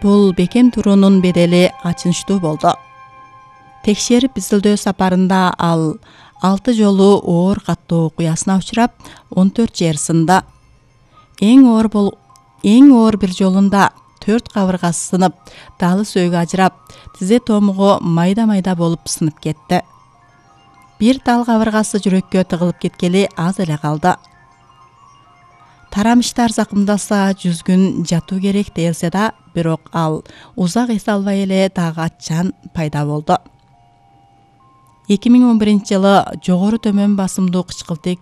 Бул бекем туруунун бедели ачынычтуу болду. Текшерип изилдөө сапарында ал 6 жолу оор каттуу окуясына учурап, 14 жер сынды. Эң оор бир жолунда 4 кабыргасы сынып, далы сөөгү ажырап, тизе томугу майда-майда болуп сынып кетти. Бир дал кабыргасы жүрөккө тыгылып кеткели аз эле калды. Тарамыштар закымдалса 100 күн жатуу керек делсе да, бирок ал узак эс албай эле дагы аччан пайда болду. 2011-жылы жогору төмөн басымдуу кычкылтек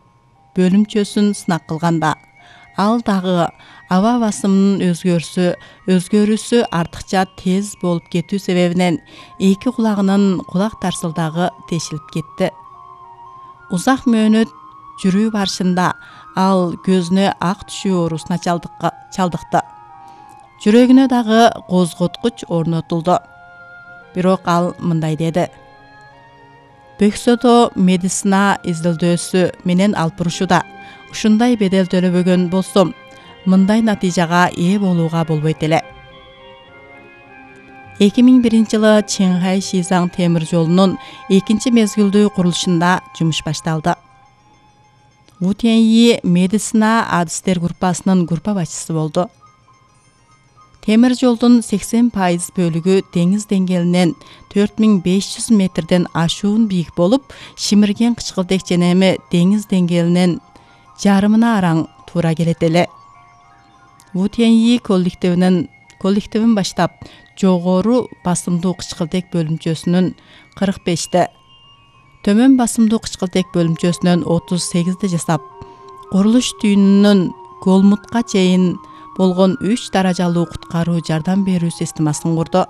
бөлүмчөсүн сынак кылганда, ал дагы аба басымынын өзгөрүүсү артыкча тез болуп кетүү себебинен эки кулагынын кулак тарсылдагы тешилип кетти. Узак мөөнөт жүрүү барышында ал көзүнө ак түшүү оорусуна чалдыкты. Жүрөгүнө дагы козготкуч орнотулду. Бирок ал мындай деди: Бөксөдө медицина изилдөөсү менен алып бурушууда. Ушундай бедел төлөбөгөн болсом, мындай натыйжага ээ болууга болбойт эле. 2001-жылы Чыңхай-Шизаң темир жолунун экинчи мезгилдүү курулушунда жумуш башталды. Ву Тяньи медицина адистер группасынын группа башчысы болду. Темир жолдун 80% бөлүгү деңиз деңгээлинен 4500 метрден ашуун бийик болуп, шимирген кычкылтек женеми деңиз деңгээлинен жарымына араң туура келет эле. Ву Тяньи коллективин баштап, жогору басымдуу кычкылтек бөлүмчөсүнүн 45-те, төмөн басымдуу кычкылтек бөлүмчөсүнөн 38-те жасап, курулуш түйүнүнүн Голмутка чейин болгон 3 даражалуу куткаруу жардам берүү системасын курду.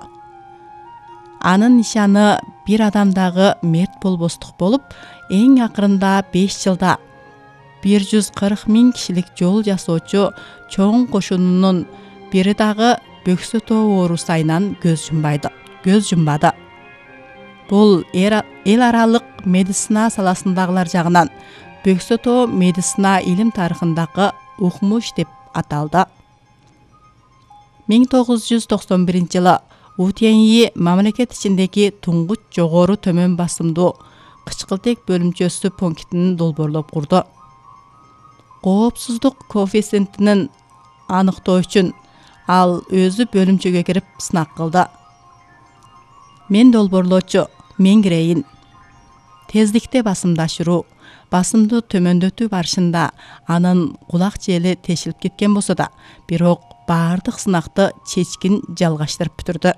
Анын нишаны бир адамдагы мерт болбостук болуп, эң акырында 5 жылда 140 000 кишилик жол жасоочу чоң кошунунун бири дагы бөксө тоо оорусу айынан көз жумбады. Бул эл аралык медицина саласындагылар жагынан бөксө тоо медицина илим тарыхындагы укмуш деп аталды. 1991-жылы Ву Тяньи мамлекет ичиндеги туңгуч жогору төмөн басымдуу кычкылтек бөлүмчөсү пунктин долбоорлоп курду. Коопсуздук коэффициентин аныктоо үчүн ал өзү бөлүмчөгө кирип сынак кылды. Мен долбоорлоочу, мен кирейин. Тездикте басымды ашыруу, басымды төмөндөтүү барышында анын кулак жели тешилип кеткен болсо да, бирок баардык сынакты чечкин жалгаштырып бүтүрдү.